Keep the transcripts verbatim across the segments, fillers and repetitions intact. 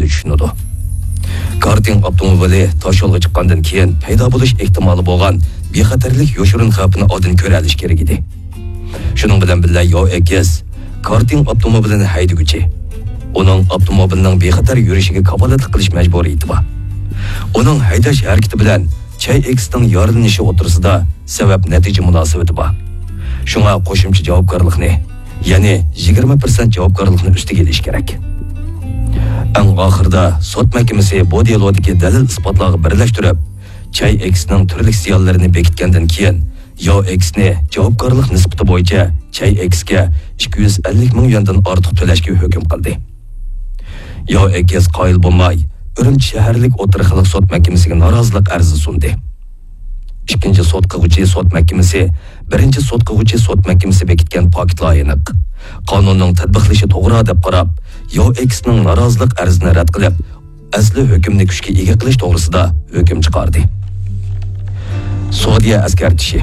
چۈشىنىدۇ. كارتىڭ ئاپتوموبىلى تاشيولغا چىققاندىن كېيىن پەيدا بولۇش ئېھتىمالى بولغان بىخەتەرلىك يوشۇرۇن خەۋپىنى ئالدىن كۆرەلىشى كېرەك ئىدى. شۇنىڭ بىلەن بىللە، ياۋ ئېكس كارتىڭ ئاپتوموبىلىنى ھەيدىگۈچى. ئۇنىڭ ئاپتوموبىلىنىڭ بىخەتەر يۈرۈشىگە كاپالەتلىك قىلىش مەجبۇرىيىتى بار. ئۇنىڭ ھەيدەش ھەرىكىتى بىلەن چاي ئېكسنىڭ يارىلىنىشى ئوتتۇرىسىدا سەۋەب نەتىجە مۇناسىۋىتى بار. شۇڭا قوشۇمچە جاۋابكارلىقنى، يەنى يىگىرمە پىرسەنت جاۋابكارلىقنى ئۈستىگە ئېلىش كېرەك. ئەڭ ئاخىرىدا سوت مەھكىمىسى بۇ دېلودىكى دەلىل ئىسپاتلارغا بىرلەشتۈرۈپ، چاي ئېكسنىڭ تۈرلۈك زىيانلىرىنى بېكىتكەندىن كېيىن، ياۋ ئېكسنى جاۋابكارلىق نىسبىتى بويىچە چاي ئېكسكە ئىككى يۈز ئەللىك مىڭ يۈەندىن ئارتۇق تۆلەشكە ھۆكۈم قىلدى. ياۋ ئېكس قايىل بولماي، ئۈرۈمچى شەھەرلىك ئوتتۇرا خەلق سوت مەھكىمىسىگە نارازىلىق ئەرزى سۇندى. ئىككىنچى سوت قىلغۇچى سوت مەھكىمىسى بىرىنچى سوت قىلغۇچى سوت مەھكىمىسى بېكىتكەن پاكىتلار ئېنىق، قانۇننىڭ تەتبىقلىشى توغرا دەپ قاراپ، ياۋ ئېكسنىڭ نارازىلىق ئەرزىنى رەت قىلىپ، ئەسلى ھۆكۈمنى كۈچكە ئىگە قىلىش توغرىسىدا ھۆكۈم چىقاردى. سودىيە ئەسكەرتىشى.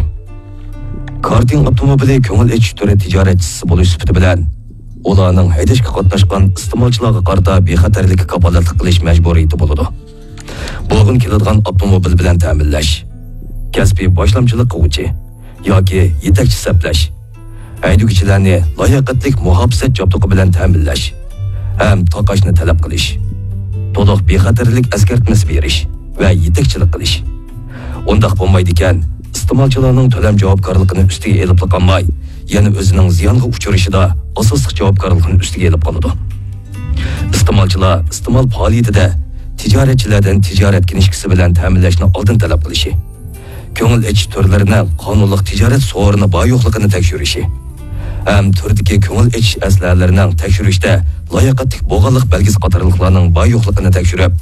كارتىڭ ئاپتوموبىلى كۆڭۈل ئېچىش تۈرى تىجارەتچىسى بولۇش سۈپىتى بىلەن، ئۇلارنىڭ ھەيدەشكە قاتناشقان ئىستېمالچىلارغا قارىتا بىخەتەرلىككە كاپالەتلىك قىلىش مەجبۇرىيىتى بولىدۇ. بۇرغۇن كېلىدىغان ئاپتوموبىل بىلەن تەمىنلەش، كەسپىي باشلامچىلىق قىلغۇچى ياكى يېتەكچى سەپلەش، ھەيدىگۈچىلەرنى لاياقەتلىك مۇھاپىزەت جابدۇقى بىلەن تەمىنلەش ھەم تاقاشنى تەلەپ قىلىش، تولۇق بىخەتەرلىك ئەسكەرتمىسى بېرىش ۋە يېتەكچىلىك قىلىش. ئۇنداق بولمايدىكەن، ئىستېمالچىلارنىڭ تۆلەم جاۋابكارلىقىنى ئۈستىگە ئېلىپلا قالماي، يەنە ئۆزىنىڭ زىيانغا ئۇچرىشىدا ئاساسلىق جاۋابكارلىقنى ئۈستىگە ئېلىپ قالىدۇ. ئىستېمالچىلار ئىستېمال پائالىيىتىدە تىجارەتچىلەردىن تىجارەت كىنىشكىسى بىلەن تەمىنلەشنى ئالدىن تەلەپ قىلىشى، كۆڭۈل ئېچىش تۈرلىرىنىڭ قانۇنلۇق تىجارەت سورۇنى بار يوقلۇقىنى تەكشۈرۈشى ھەم تۈردىكى كۆڭۈل ئېچىش ئەسلىھەلىرىنىڭ تەكشۈرۈشتە لاياقەتلىك بولغانلىق بەلگىسى قاتارلىقلارنىڭ بار يوقلۇقىنى تەكشۈرۈپ،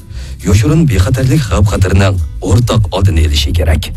يوشۇرۇن بىخەتەرلىك خەۋپ خەتىرىنىڭ ئورتاق ئالدىنى ئېلىشى كېرەك.